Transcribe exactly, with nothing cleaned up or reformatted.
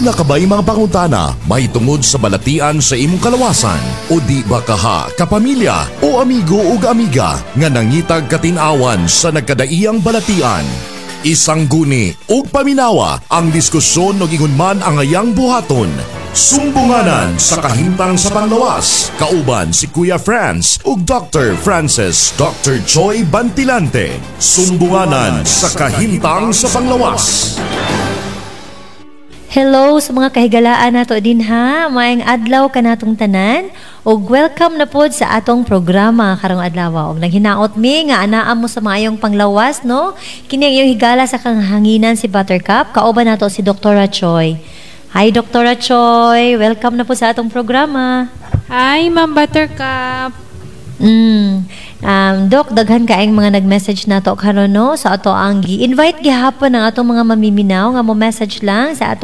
Duna ka ba'y mga pangutana mahitungod sa balatian sa imong kalawasan o di ba kaha kapamilya o amigo ug amiga nga nangitag katin-awan sa nagkadaiyang balatian? Isangguni ug paminawa ang diskusyon ug ingon man ang ayang buhaton. Sumbunganan sa kahimtang sa panglawas. Kauban si Kuya Franz ug Doctor Francis Doctor Joy Bantilante. Sumbunganan sa kahimtang sa panglawas. Hello sa mga kahigalaan nato dinha. Maayong adlaw kanatong tanan ug welcome na pod sa atong programa karong adlaw. Ug naghinaot mi nga anaa mo sa maayong panglawas, no? Kini ang iyong higala sa kahanginan, si Buttercup. Kauban nato si Doctor Choi. Hi, Doctor Choi. Welcome na po sa atong programa. Hi, Ma'am Buttercup. Mm. Um, Dok, daghan kaayong mga nag-message nato karon, no, sa ato ang gi-invite gihapon ang atong mga mamiminaw nga mo message lang sa atong